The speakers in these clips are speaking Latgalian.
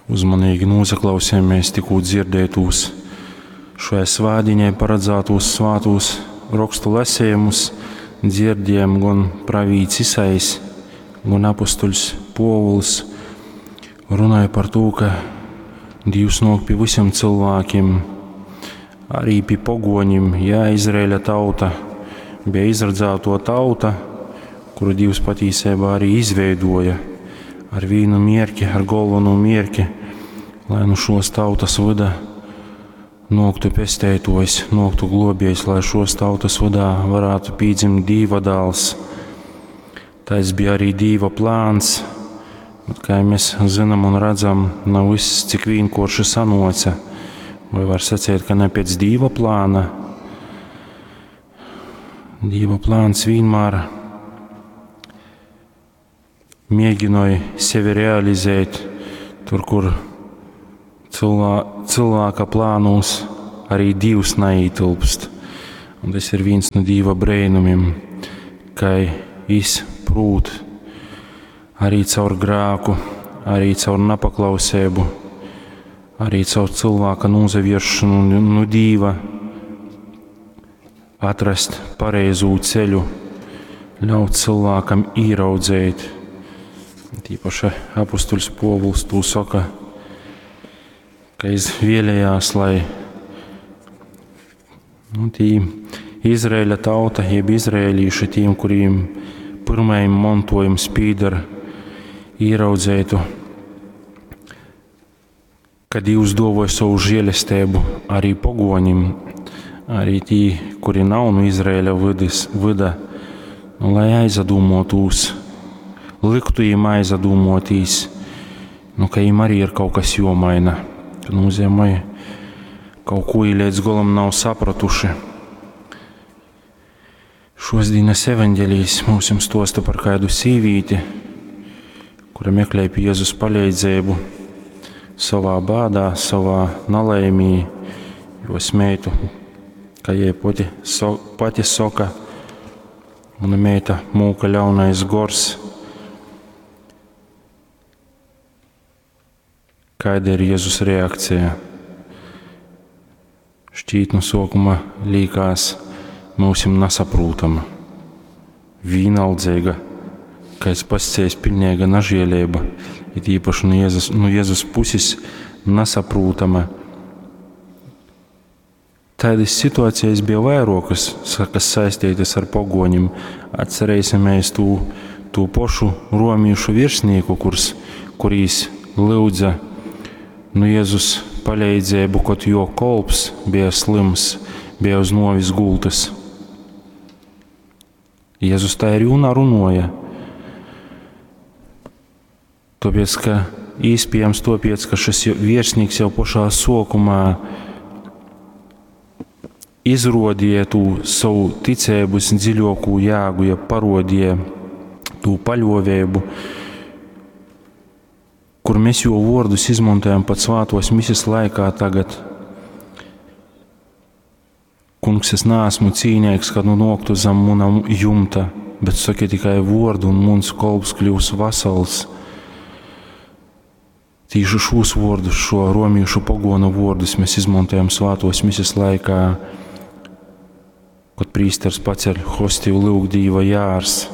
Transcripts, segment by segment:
Uzmanīgi nosaklausījāmies tikko dzirdētos šajā svētdienai paredzētos svātos rakstu lasījumus. Dzirdējām gan pravīts Isais, gan apustuļs Povuls runāja par to, ka Dievs nāk pie visiem cilvēkiem, arī pie pogoņiem. Jā, Izraēļa tauta bija izredzēto tauta, kuru Dievs patiesībā arī izveidoja ar vienu mierki, ar galveno mierki, lai nu šos tautas vida noktu pestētojs, noktu globiejs, lai šos tautas vidā varētu pīdzimt Dīva dāls. Tas bija arī Dīva plāns, bet, kā mēs zinām un redzam, nav viss cik vienkārši sanoca. Vai var sacīt, ka ne pēc Dīva plāna? Dīva plāns vienmēr mēģināja sevi realizēt tur, kur cilvē, cilvēka plānos arī Dievs neietilpst. Un tas ir viens no Dieva brēnumiem, ka izprūt arī caur grēku, arī caur nepaklausību, arī caur cilvēka nozavieršanu no Dieva atrast pareizo ceļu, ļaut cilvēkam ieraudzēt. Tīpaši apustuļs Povuls to saka, ka es vēlējās, lai nu, tī Izraēļa tauta, jeb izraēlīši tiem, kuriem pirmajam mantojums pīdar, ieraudzētu, ka Dievs dovoja savu žēlestību arī pogoņim, arī tī, kuri nav no Izraēļa vidus, vida, nu, lai aizadūmotūs, liktu viņiem aizadūmotīs, nu, ka viņiem arī ir kaut kas jomaina, ka nozīmē, kaut ko līdz galam nav sapratuši. Šos dienas evaņģēlijs mums jums stosta par kādu sīvīti, kura meklēja pie Jēzus palīdzību savā bādā, savā nelaimī, jo meitu, kā jai pati, so, pati soka, mana meita mūka ļaunais gors. Kāda ir Jēzus reakcija? Šķīt no sākuma līkās mūsim nesaprotama, vienaldzīga, kā es pasacījis, pilnīga nažēlība, it īpaši no Jēzus, no Jēzus puses nesaprotama. Tādas situācijas bija vairākas, kas saistītas ar pogoņiem. Atcerēsimies to, to pašu romiešu virsnieku, kurs, kurīs lūdza no Jēzus palīdzību, kad jo kolps bija slims, bija uz novis gultas. Jēzus tā ir jūnā runoja. Tāpēc, ka īspējams tāpēc, ka šis virsnieks jau pašā sokumā izrodīja tu savu ticības dziļāko jēgu, ja parodīja to paļovēbu, kur mēs jo vārdus izmantojam pat svātos mises laikā tagad. Kungs, es neesmu cīnīgs, kad nu noktu zem muna jumta, bet saki tikai vārdu, un muns kolps kļūs vasals. Tīši šos vārdus, šo romiešu pagonu vārdus mēs izmantojam svātos mises laikā, kad prīsters paceļ hostiju lūg Dīva jārs.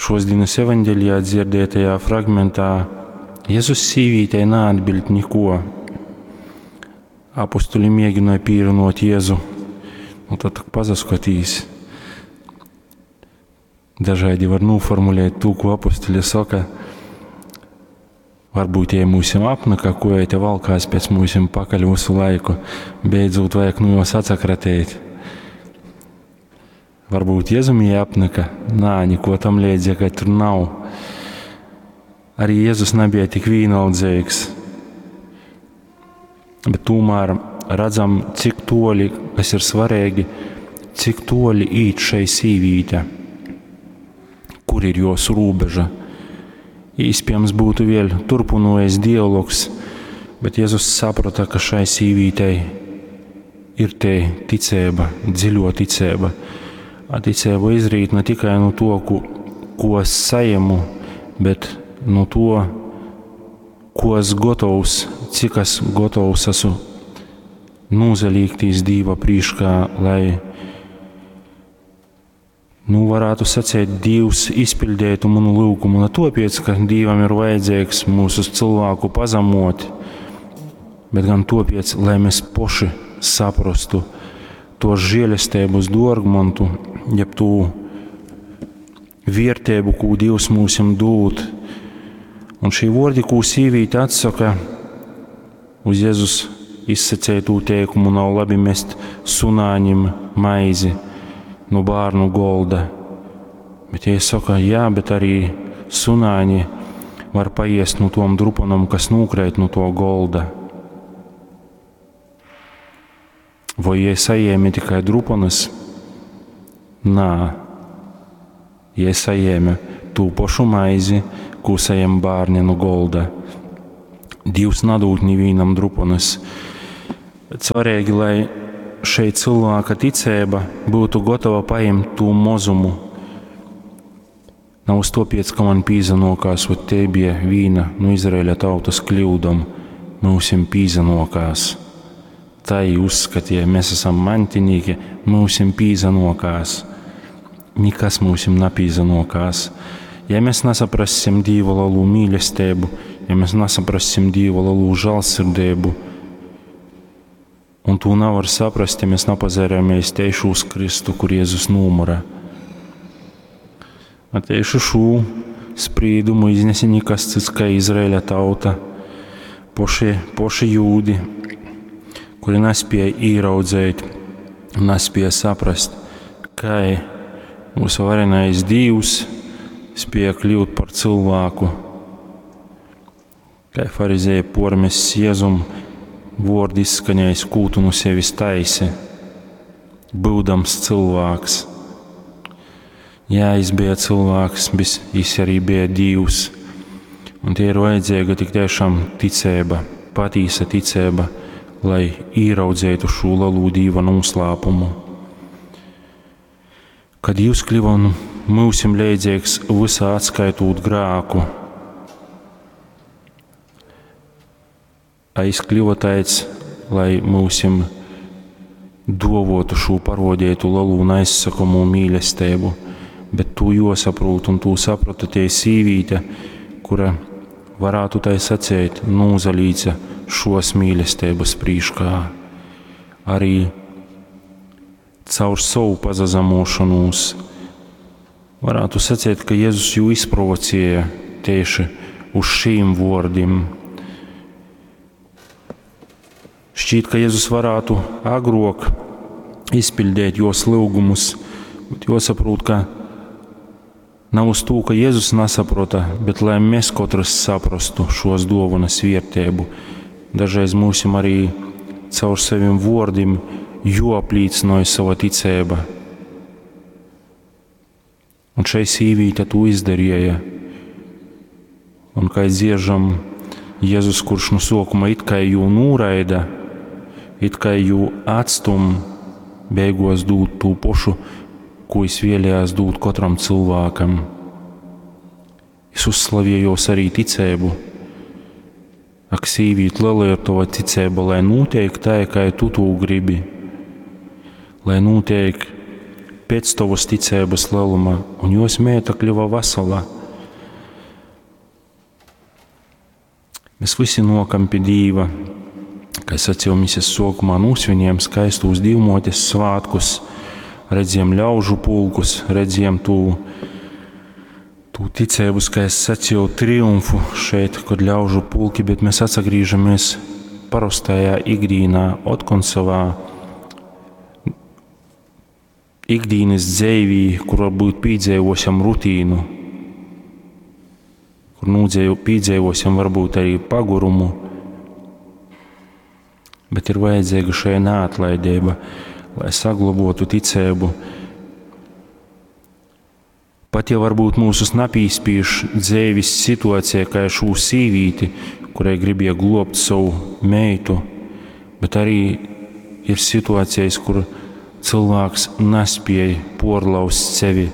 Šos dienas evaņģēlijā dzirdētajā fragmentā Jēzus sīvītei neatbild neko. Apustuļi mēģināja pīrunot Jēzu, nu tad tak pazaskatīs. Dažādi var noformulēt to, ko apustuļi saka. Varbūt, ja mūsim apnaka, ko ja te valkās pēc mūsim pakaļ visu laiku, beidzot vajag nu jos atsakratēt. Varbūt Jēzum jai apnika, nā, neko tam līdzīga tur nav. Arī Jēzus nebija tik vienaldzīgs. Bet tomēr redzam, cik toļi, kas ir svarīgi, cik toļi īt šai sīvīte, kur ir jos robeža. Iespējams būtu vēl turpinojies dialogs, bet Jēzus saprata, ka šai sīvītei ir te ticība, dziļo ticība. A ticība izrīt ne tikai no to, ko, ko es saņemu, bet nu to, ko es gotovs, cik es gotovs esmu nūzalīktīs Dīva prīškā, lai, nu, varētu saceit, Dīvs izpildētu manu lūgumu. Ne tāpēc, ka Dīvam ir vajadzīgs mūsu cilvēku pazemot, bet gan tāpēc, lai mēs poši saprastu to žēlestības dārgmontu, jeb tū vērtību, ko Dievs mums dod. Un šī vārdi, ko sīvīte atsaka uz Jēzus izsacētū teikumu, nav labi mest sunāņim maizi no bērnu golda. Bet ja saka, jā, bet arī sunāņi var paiest no tom drupanam, kas nūkrēt no to golda. Vai jie saņēma tikai drupanas? Nā, jie saņēma tū pašu maizi, ko saņem bērni no golda. Dievs nadūt nevienam drupanas. Bet svarīgi, lai šeit cilvēka ticība būtu gatava paņemt to mozumu. Nav uz to piec, ka man pīzanokās, ot te bija vīna no Izraēļa tautas kļūdom, mūsim pīzanokās. Tai uzskatīja, mēs esam mantinīgi, mūsim pīzanokās. Nikas mūsim napīzanokās. Ja mēs nesaprassim Dīva lielu mīlestību, ja mēs nesaprassim Dīva lielu žēlsirdību, un to nevar saprast, ja mēs nepazērēmies tieši uz Kristu, kur Jēzus numura. A tieši šo sprīdumu iznesa nekas cits kā Izraēļa tauta, poši, poši jūdi, kuri nespēja ieraudzēt, nespēja saprast, kā mūsu varenais Dievs spēja kļūt par cilvēku. Kā farizēja pormes Jēzum, vārdi izskanējis kūtu no sevis taisi, būdams cilvēks. Jā, jis bija cilvēks, bet jis arī bija Dievs. Un tie ir vajadzīga tik tiešām ticība, patīsa ticība, lai ieraudzītu šo lielo Dieva noslēpumu. Kad Dievs kļuva nu mūsim leidzīgs visā atskaitot grāku, a jis kļuva tāds, lai mūsim dovotu šo parodētu lielu un aizsakamu mīlestību, bet to josaprūt un to saprata tie sīvīte, kura varētu tai sacēt, nūzalīca šos mīlestības prīškā. Arī caur savu pazazamošanos varētu sacēt, ka Jēzus jū izprovocēja tieši uz šīm vārdiem. Šķiet, ka Jēzus varētu agrāk izpildīt jos lūgumus, bet jāsaprot, ka nav uz to, ka Jēzus nesaprota, bet lai mēs katrs saprastu šos dāvanas vērtību. Dažreiz mūsim arī caur saviem vārdiem joaplīcināja sava ticība. Un šai sīvīte to izdarīja. Un kā dziežam, Jēzus, kurš no sākuma it kā jū nūraida, it kā jū atstum, beigos dūt tū pošu, ko es vēlējās dūt katram cilvēkam. Es uzslavējos arī ticību. Ak, sīvīt, liela ir tava ticība, lai notiek tā, kā tu to gribi. Lai notiek pēc tavas ticības lieluma, un jos meita kļuva vesela. Mēs visi nokam pie Dīva, kā sacīju misijas sākumā, nosvinējam skaistos Dīvmotes svētkus, redzējām ļaužu pulkus, redzējām tū, tū ticību, kā es sacīju, triumfu šeit, kad ļaužu pulki, bet mēs atsagrīžamies parastajā ikdīnā, otkon savā ikdienas dzīvī, kur varbūt piedzīvosim rutīnu, kur nūdzēju, piedzīvosim varbūt arī pagurumu, bet ir vajadzīga šai neatlaidība, lai saglabotu ticību. Pat ja varbūt mūsus napīspīš dzīves situācija, kā šo sīvīti, kurai gribēja globt savu meitu, bet arī ir situācijas, kur cilvēks nespēja porlauzt sevi,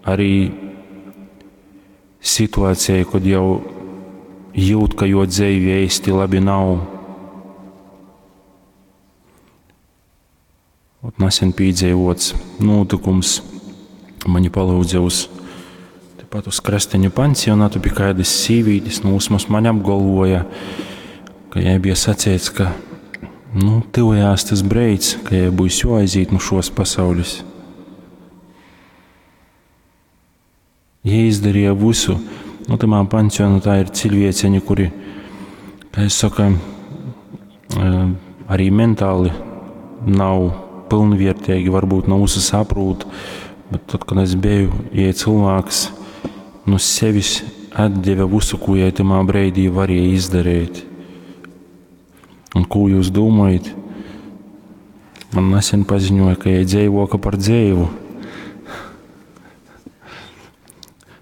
arī Situācijai, kod jau jūt, ka juo dzeive eisti labi nav. Ot, nasen pīdzeivuots nūtykums. Mani palyudze uz tepat uz Krasteņu pansionatu pi kaidys sīvītis, nu, vysmoz maņ apgolvuoja, ka jai bija saceits, ka, nu, tyvojās tys breids, ka jai byus juoaizīt nu šuos pasaulis. Jei izdarīja visu. Nu, tymā pansionatā ir ciļvieceņi, kuri, kā es saka, arī mentāli nav pilnvērtīgi, varbūt nav visu saprūt, bet tad, kad es biju, ja cilvēks no sevis atdeva visu, ko jai tymā breidī varēja izdarīt. Un ko jūs domājat? Man nesen paziņoja, ka jai dzeivoka par dzeivu.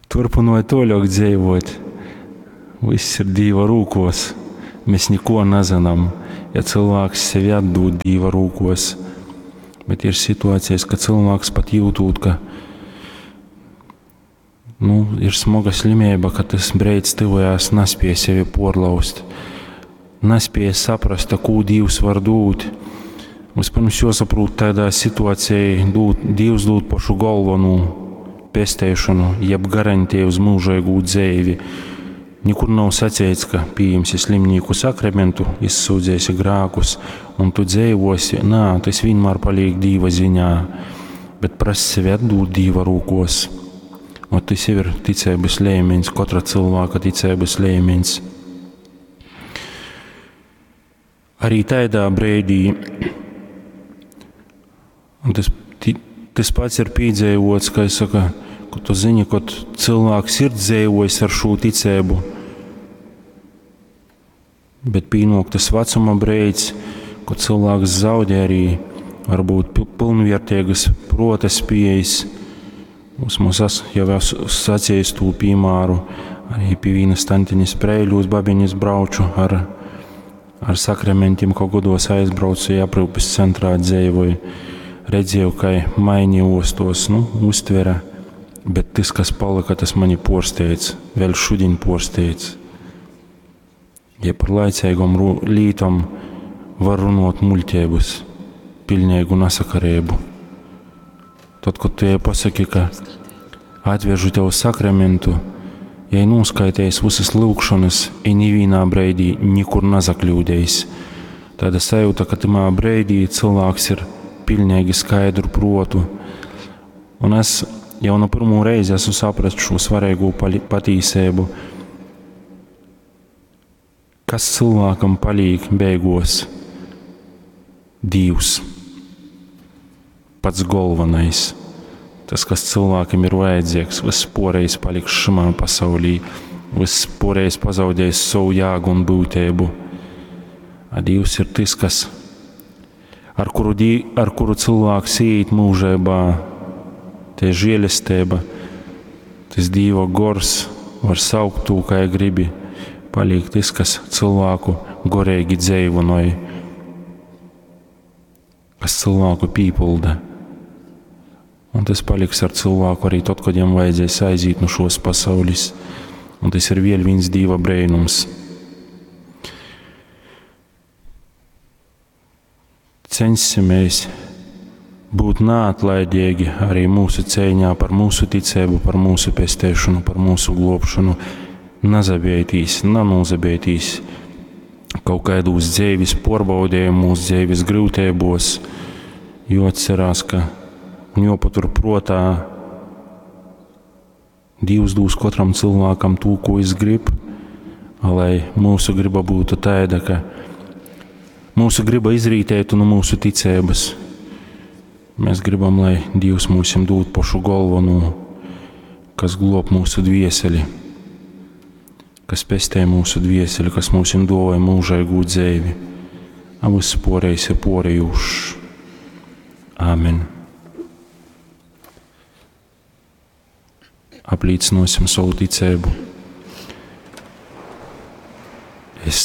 Turpinoja toļok dzeivot. Viss ir Dīva rūkos. Mēs neko nezinām, ja cilvēks sevi atdod Dīva rūkos. Bet ir situācijas, ka cilvēks pat jūtot, ka nu, ir smaga slimība, ka tas breids tuvojās, nespēja sevi porlaust, nespēja saprast, ko Dievs var dot. Vispirms jāsaprot tādā situācijā, dūt, Dievs dod pašu galveno pesteišanu, jeb garantēju uz mūžīgu dzeivi. Nekur nav sacīts, ka pieņemsi slimnīku sakramentu, izsūdzēsi grēkus un tu dzeivosi. Nā, tas vienmēr paliek Dīva ziņā, bet prasa sevi atdot Dīva rūkos. Un tas jau ir ticības līmenis, katra cilvēka ticības līmenis. Arī tādā brīdī, un tas, tas pats ir piedzīvots, kā es saku, ka tu zini, kad cilvēks ir dzīvojis ar šo ticību, bet pienāk tas vecuma brīdis, kad cilvēks zaudē arī varbūt pilnvērtīgas prota spējas. Mums es jau esmu sacījis to piemēru, arī pie vienas tantiņas Preiļūs babiņas brauču ar, ar sakramentiem, ko godos aizbraucu, ja aprūpes centrā dzīvoju. Redzēju, ka mainījos tos, nu, uztvere, bet tas, kas palika, tas mani porsteidz, vēl šodien porsteidz. Ja par laicīgām lītām var runāt muļķības, pilnīgu nesakarību. Tad, kad tu jai pasaki, ka atvežu tev sakramentu, ja noskaitījis visas lūgšanas, i nevienā brīdī nekur nezakļūdējis. Tāda sajūta, ka tamā brīdī cilvēks ir pilnīgi skaidru protu. Un es jau no pirmo reizi esmu sapratis šo svarīgo patīsību. Kas cilvēkam palīk beigos? Dievs. Pats galvenais. Tas, kas cilvēkam ir vajadzīgs, viss porējs paliks šimā pasaulī, viss porējs pazaudēs savu jēgu un būtību. A Dievs ir tas, kas, ar kuru, dī, ar kuru cilvēks iet mūžībā, te žēlestība, tas Dieva gors, var saukt to, kā gribi, paliek tas, kas cilvēku gorīgi dzīvonoja, kas cilvēku pīpulda. Un tas paliks ar cilvēku arī tad, kad viņam vajadzēs aiziet no šos pasaules. Un tas ir vēl viens Dieva brēnums. Censimies būt neatlaidīgi arī mūsu cīņā par mūsu ticību, par mūsu pestēšanu, par mūsu globšanu. Nazabietīs, nanūzabietīs kaut kādos dzīves porbaudījumos, dzīves grūtībos, jo atcerās, ka un jopatur protā, Dievs dos katram cilvēkam to, ko es grib, lai mūsu griba būtu tāda, ka mūsu griba izrītētu no mūsu ticības. Mēs gribam, lai Dievs mums dod pašu galveno, kas glob mūsu dvieseli, kas pestē mūsu dvieseli, kas mums dod mūžīgu dzīvi. A viss porējs ir porējušs. Āmen. Apliecināsim savu ticību.